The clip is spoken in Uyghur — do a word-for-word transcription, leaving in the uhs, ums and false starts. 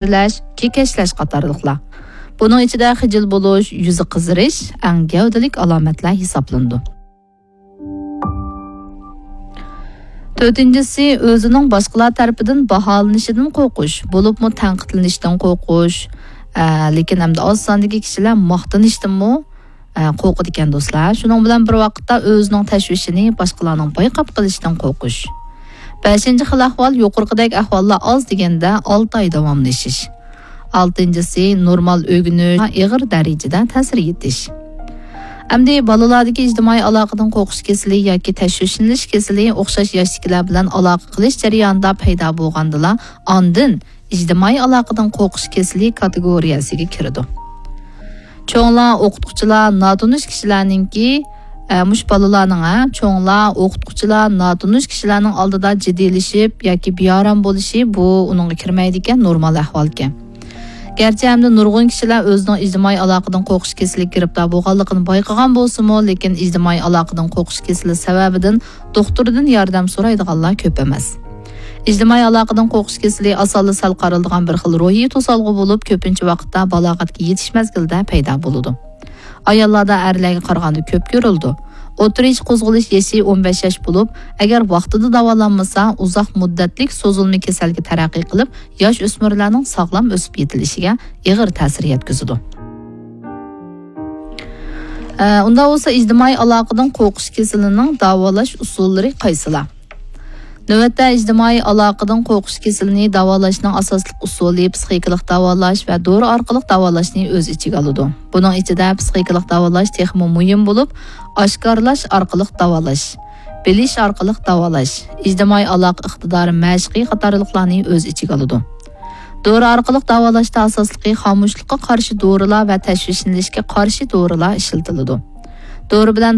تەرلەش، كېكەچلەش قاتارلىقلار. بۇنىڭ ئىچىدە خىجىل بولۇش، يۈزى قىزىرىش ئەڭ گەۋدىلىك ئالامەتلەر ھېسابلىنىدۇ. تۆتىنچىسى، ئۆزىنىڭ باشقىلار تەرىپىدىن باھالىنىشىدىن قورقۇش، بولۇپمۇ تەنقىدلىنىشتىن قورقۇش. ئە، لېكىن ئەمدى ئاز ساندىكى كىشىلەر ماختىنىشتىنمۇ، ئە، قورقىدىكەن دوستلار. شۇنىڭ بىلەن بىر ۋاقىتتا ئۆزىنىڭ تەشۋىشىنى باشقىلارنىڭ بايقاپ قېلىشىدىن قورقۇش. بەشىنچى خىل ئەھۋال، يۇقىرىقىدەك ئەھۋاللار ئاز دېگەندە ئالتە ئاي داۋاملىشىش. ئالتىنچىسى، نورمال ئۆگىنىش، ئېغىر دەرىجىدە تەسىر يېتىش. ئەمدى بالىلاردىكى ئىجتىمائىي ئالاقىدىن قورقۇش كېسىلى ياكى تەشۋىشلىنىش كېسىلى ئوخشاش ياشتىكىلەر بىلەن ئالاقە قىلىش جەريانىدا پەيدا بولغاندىلا، ئاندىن ئىجتىمائىي ئالاقىدىن قورقۇش كېسىلى كاتېگورىيەسىگە كىرىدۇ. چوڭلار، ئوقۇتقۇچىلار، ناتونۇش كىشىلەرنىڭكى، ئە، مۇشۇ بالىلارنىڭ، ھە، چوڭلار، ئوقۇتقۇچىلار، ناتونۇش كىشىلەرنىڭ ئالدىدا جىددىيلىشىپ ياكى بىئارام بولۇشى، بۇ ئۇنىڭغا كىرمەيدىكەن، نورمال ئەھۋالكەن. گەرچە ئەمدى نۇرغۇن كىشىلەر ئۆزىنىڭ ئىجتىمائىي ئالاقىدىن قورقۇش كېسىلىگە گىرىپتار بولغانلىقىنى بايقىغان بولسىمۇ، لېكىن ئىجتىمائىي ئالاقىدىن قورقۇش كېسىلى سەۋەبىدىن دوختۇردىن ياردەم سورايدىغانلار كۆپ ئەمەس. ئىجتىمائىي ئالاقىدىن قورقۇش كېسىلى ئاسانلا سەل قارىلىدىغان بىر خىل روھىي توسالغۇ بولۇپ، كۆپىنچە ۋاقىتتا بالاغەتكە يېتىش مەزگىلىدە پەيدا بولىدۇ. ئاياللاردا ئەرلەرگە قارىغاندا كۆپ كۆرۈلىدۇ. ئوتتۇرا ياش قوزغىلىش يېشى ئون بەش ياش بولۇپ، ئەگەر ۋاقتىدا داۋالانمىسا، ئۇزاق مۇددەتلىك سوزۇلما كېسەلگە تەرەققىي قىلىپ، ياش ئۆسمۈرلەرنىڭ ساغلام ئۆسۈپ يېتىلىشىگە ئېغىر تەسىر يەتكۈزىدۇ. ئە، ئۇنداق بولسا، ئىجتىمائىي ئالاقىدىن قورقۇش كېسىلىنىڭ داۋالاش ئۇسۇللىرى قايسىلار؟ نۆۋەتتە، ئىجتىمائىي ئالاقىدىن قورقۇش كېسىلىنى داۋالاشنىڭ ئاساسلىق ئۇسۇلى پسىخىكىلىق داۋالاش ۋە دورا ئارقىلىق داۋالاشنى ئۆز ئىچىگە ئالىدۇ. بۇنىڭ ئىچىدە پسىخىكىلىق داۋالاش تېخىمۇ مۇھىم بولۇپ، ئاشكارىلاش ئارقىلىق داۋالاش، بىلىش ئارقىلىق داۋالاش، ئىجتىمائىي ئالاقە ئىقتىدارى مەشقى قاتارلىقلارنى ئۆز ئىچىگە ئالىدۇ. دورا ئارقىلىق داۋالاشتا ئاساسلىقى خامۇشلۇققا قارشى دورىلار ۋە تەشۋىشلىنىشكە قارشى دورىلار ئىشلىتىلىدۇ. دورا بىلەن